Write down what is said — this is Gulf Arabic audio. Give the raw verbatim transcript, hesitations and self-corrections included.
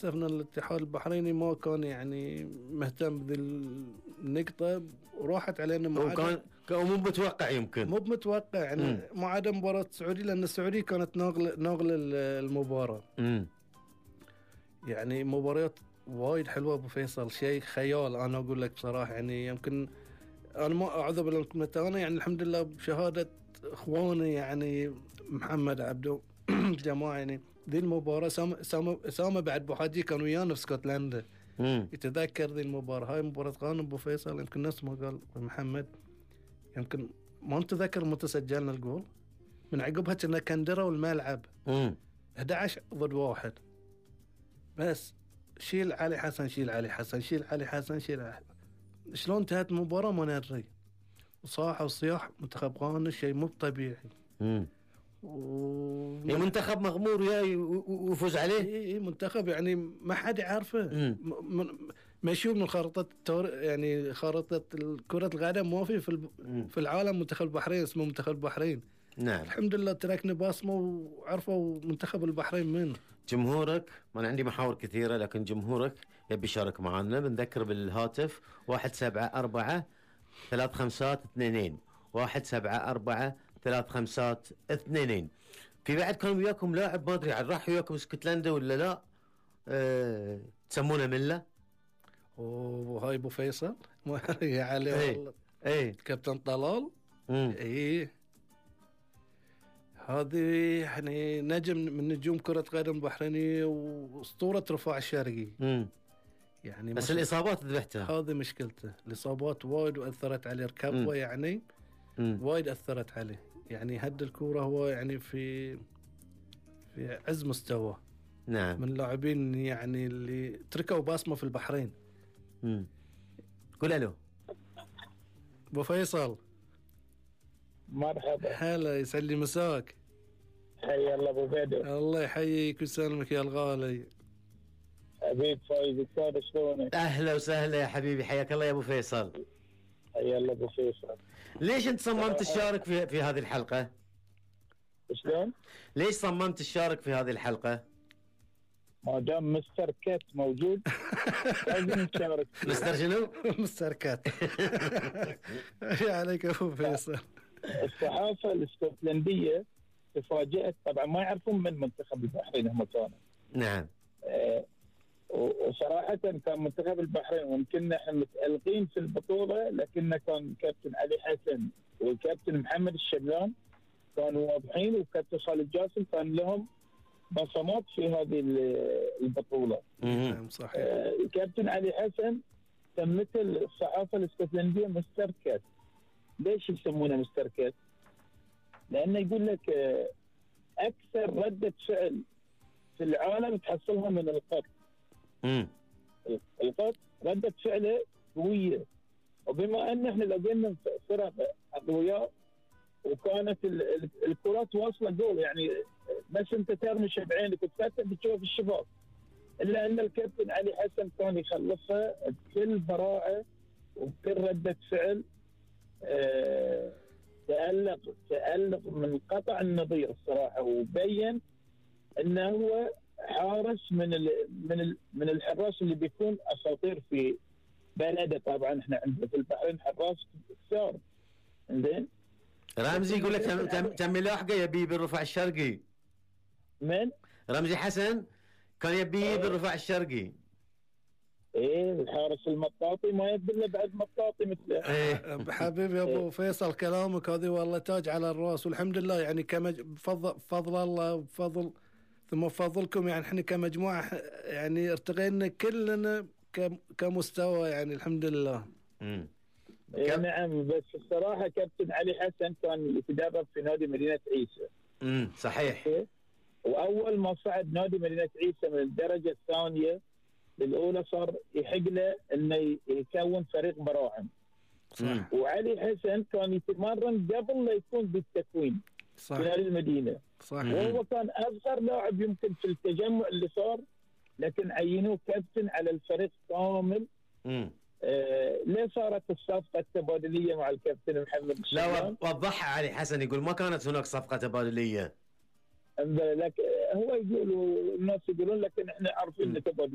شفنا الاتحاد البحريني ما كان يعني مهتم بذي النقطة وراحت علينا وكان كان مو متوقع يمكن مو متوقع يعني ما عدا مباراة السعودية لأن السعودية كانت ناقل ناقل المباراة مم. يعني مباريات وايد حلوة أبو فيصل شيء خيال أنا أقول لك بصراحة يعني يمكن أنا ما أعذب لكم أنا يعني الحمد لله بشهادة إخواني يعني محمد عبدو جماعة يعني ذي المباراة سامة سامة سامة بعد بوحاجي كانوا ويانا في اسكتلندا يتذكر ذي المباراة هاي مباراة غانم أبو فيصل يمكن نفس ما قال محمد يمكن ما نتذكر متى سجلنا الجول من عقبها كنا كندروا الملعب أحد عشر ضد واحد بس شيل علي حسن شيل علي حسن شيل علي حسن شيل علي حسن. شلون انتهت المباراة ما ندري وصاح وصياح منتخب غانا شيء مو طبيعي امم و... منتخب مغمور وياي وفوز عليه اي منتخب يعني ما حد يعرفه م... ما يشوف من خارطة التور... يعني خارطة كرة القدم ما في في, الب... في العالم منتخب البحرين اسمه منتخب البحرين. نعم الحمد لله تركنا باسمه وعرفوا منتخب البحرين من جمهورك. ما أنا عندي محاور كثيرة لكن جمهورك يبي يشارك معنا. بنذكر بالهاتف واحد سبعة أربعة ثلاث خمسات اثنين واحد سبعة أربعة ثلاث خمسات اثنين. في بعد كان وياكم لاعب ما أدري عن راح وياكم اسكتلندا ولا لا أه... تسمونه ملة وهاي أبو فيصل ما هي عليه ايه والله ايه كابتن طلال ايه هذه يعني نجم من نجوم كرة قدم البحرينية واسطورة رفاع الشرقي مم. يعني بس الإصابات ذبحتها هذه مشكلته الإصابات وايد وأثرت عليه ركبه يعني مم. وايد أثرت عليه يعني هد الكورة هو يعني في في عز مستوى نعم من اللاعبين يعني اللي تركوا باسمه في البحرين. مم. قول ألو أبو فيصل مرحبا هلا يسعد لي مساك حيا الله ابو بدر الله يحييك ويسلمك يا الغالي حبيب فايز السادة شلونك اهلا وسهلا يا حبيبي حياك الله يا ابو فيصل حيا الله ابو فيصل ليش انت صممت تشارك في في هذه الحلقة شلون ليش صممت تشارك في هذه الحلقة ما دام مستر كات موجود لازم نشارك مستر شنو مستر كات يا عليك ابو فيصل الصحافة الاسكتلندية تفاجأت طبعا ما يعرفون من منتخب البحرين هم كانوا نعم آه وصراحة كان منتخب البحرين ويمكن احنا متألقين في البطولة لكن كان كابتن علي حسن والكابتن محمد الشبلان كانوا واضحين وكابتن خالد جاسم كان لهم بصمات في هذه البطولة. نعم صحيح. آه الكابتن علي حسن سمته الصحافة الاسكتلندية مستر كات. ليش يسمونه مستر كات؟ لأنه يقول لك آه أكثر ردة فعل في العالم تحصلها من القط. امم القط ردة فعله قوية وبما أن احنا لقينا فرق أقوياء وكانت الكرات واصلة جول يعني بس انت ترمش بعينك وتفتح بتشوف الشباك الا ان الكابتن علي حسن كان يخلصها بكل براعة وبكل ردة فعل اه تألق تألق من قطع النظير الصراحة وبين انه هو حارس من ال من ال من الحراس اللي بيكون اساطير في بلده. طبعا احنا عندنا في البحرين حراس كثار زين. رمزي يقول لك تم تم تم لاحقه يبي بالرفاع الشرقي. من؟ رمزي حسن كان يبي بالرفاع الشرقي. ايه الحارس المطاطي ما يدل بعد مطاطي مثله. ايه حبيبي يا ابو فيصل كلامك هذه والله تاج على الراس والحمد لله يعني كما بفضل فضل الله وبفضل ثم بفضلكم يعني احنا كمجموعه يعني ارتقينا كلنا كمستوى يعني الحمد لله. امم إيه نعم بس الصراحه كابتن علي حسن كان يتدرب في نادي مدينه عيسى. امم صحيح. واول ما صعد نادي مدينه عيسى من الدرجه الثانيه للاولى صار يحق له انه يكون فريق براعم. صح. وعلي حسن كان يتمرن قبل لا يكون بالتكوين صح في نادي المدينه. صح. وهو كان اصغر لاعب يمكن في التجمع اللي صار لكن عينوه كابتن على الفريق كامل. امم آه ليه صارت الصفقة التبادلية مع الكابتن محمد الشبلان؟ لا وضحها علي حسن يقول ما كانت هناك صفقة تبادلية. انزين لك هو يقول الناس يقولون لكن احنا عارفين م. ان تبغى